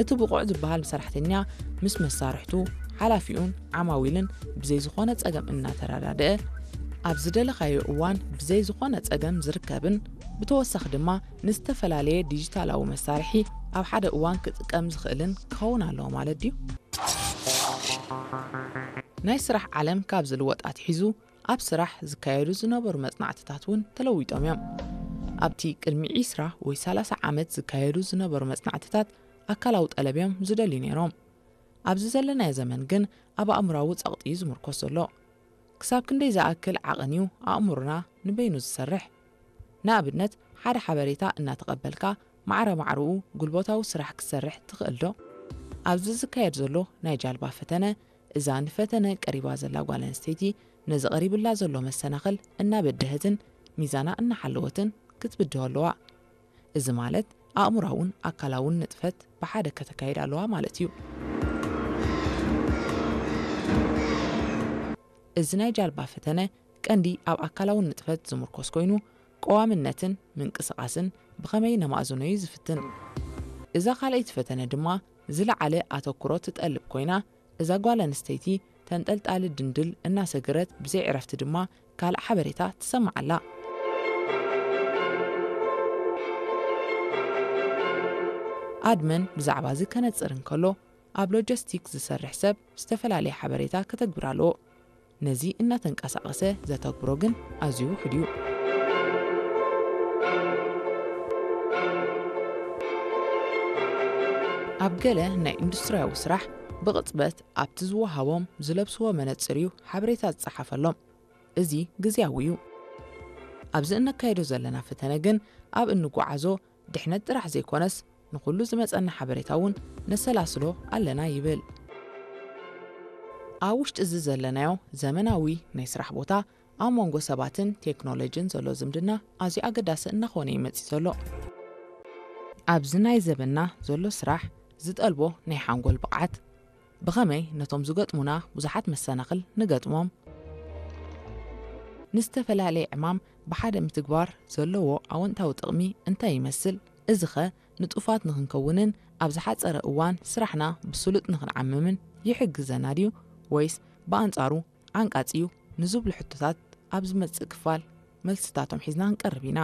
እቲ ብቑዕ ዝበሃል ሰራሕተኛ ምስ መሳርሕቱ፣ ሓላፊኡን ዓማዊልን ብዘይ ዝኾነ ጸገም እናተረዳድአ፣ ኣብ ዝደለኻዮ እዋን ብዘይ ዝኾነ ጸገም ዝርከብን፣ ብተወሳኺ ድማ ንዝተፈላለየ ዲጂታላዊ መሳርሒ ኣብ ሓደ እዋን ክጥቀም ዝኽእልን ክኸውን ኣለዎ ማለት ድዩ? ናይ ስራሕ ዓለም ካብ ዝልወጥ ኣትሒዙ፣ ኣብ ስራሕ ዝካየዱ ዝነበሩ መጽናዕትታት እውን ተለዊጦም እዮም። ኣብቲ ቅድሚ ዒስራ ወይ ሰላሳ ዓመት ዝካየዱ ዝነበሩ መጽናዕትታት፣ ኣካላዊ ጠለብ እዮም ዝደልዩ ነይሮም። ኣብዚ ዘለናዮ ዘመን ግን፣ ኣብ ኣእምራዊ ጸቕጢ እዩ ዝምርኮስ ዘሎ። ክሳብ ክንደይ ዝኣክል ዓቐን እዩ ኣእምሮና ንበይኑ ዝሰርሕ? ንኣብነት፣ ሓደ ሓበሬታ እናተቐበልካ፣ ማዕረ ማዕረኡ ጉልበታዊ ስራሕ ክትሰርሕ ትኽእል ዶ? ኣብዚ ዝካየድ ዘሎ ናይ ጃልባ ፈተነ፣ እዛ ንፈተነ ቀሪባ ዘላ ጓል ኣንስተይቲ፣ ነዚ ቀሪብላ ዘሎ መሰናኽል እናበደሀትን ሚዛና እናሓለወትን ክትብድሆ ኣለዋ። እዚ ማለት፣ ኣእምራውን ኣካላውን ንጥፈት ብሓደ ከተካይድ ኣለዋ ማለት እዩ። እዚ ናይ ጃልባ ፈተነ ቀንዲ ኣብ ኣካላውን ንጥፈት ዝምርኮስ ኮይኑ፣ ቀዋምነትን ምንቅስቓስን ብኸመይ ነማእዝኖ እዩ ዝፍትን። እዛ ካልኣይቲ ፈተነ ድማ ዝለዓለ ኣተኩሮ ትጠልብ ኮይና፣ እዛ ጓል ኣንስተይቲ ተንጠልጣሊ ድንድል እናሰገረት፣ ብዘይ ዕረፍቲ ድማ ካልእ ሓበሬታ ትሰምዕ ኣላ። ኣድመን ብዛዕባ እዚ ከነጽር እንከሎ፣ ኣብ ሎጂስቲክ ዝሰርሕ ሰብ ዝተፈላለየ ሓበሬታ ከተግብር ኣለዎ። ነዚ እናተንቀሳቐሰ ዘተግብሮ ግን ኣዝዩ ውሑድ እዩ። ኣብ ገለ ናይ ኢንዱስትርያዊ ስራሕ፣ ብቕጽበት ኣብቲ ዝወሃቦም ዝለብስዎ መነጽር እዩ ሓበሬታ ዝጸሓፈሎም። እዚ ግዝያዊ እዩ። ኣብዚ እነካየዶ ዘለና ፈተነ ግን፣ ኣብ እንጓዓዞ ድሕነት ጥራሕ ዘይኮነስ፣ ንኹሉ ዝመጸና ሓበሬታ እውን ነሰላስሎ ኣለና ይብል። ኣብ ውሽጢ እዚ ዘለናዮ ዘመናዊ ናይ ስራሕ ቦታ፣ ኣብ መንጎ ሰባትን ቴክኖሎጂን ዘሎ ዝምድና ኣዝዩ ኣገዳሲ እናኾነ እዩ መጺኡ ዘሎ። ኣብዚ ናይ ዘበንና ዘሎ ስራሕ ዝጠልቦ ናይ ሓንጎል ብቕዓት፣ ብኸመይ ነቶም ዝገጥሙና ብዙሓት መሰናኽል ንገጥሞም፣ ንዝተፈላለየ ዕማም ብሓደ ምትግባር ዘለዎ ኣወንታዊ ጥቕሚ እንታይ ይመስል? እዚኸ ንጡፋት ንኽንከውንን ኣብ ዝሓጸረ እዋን ስራሕና ብስሉጥ ንኽንዓምምን ይሕግዘና ድዩ? ወይስ ብኣንጻሩ ዓንቃጺ እዩ? ንዝብሉ ሕቶታት ኣብ ዝመጽእ ክፋል መልስታቶም ሒዝና ክንቀርብ ኢና።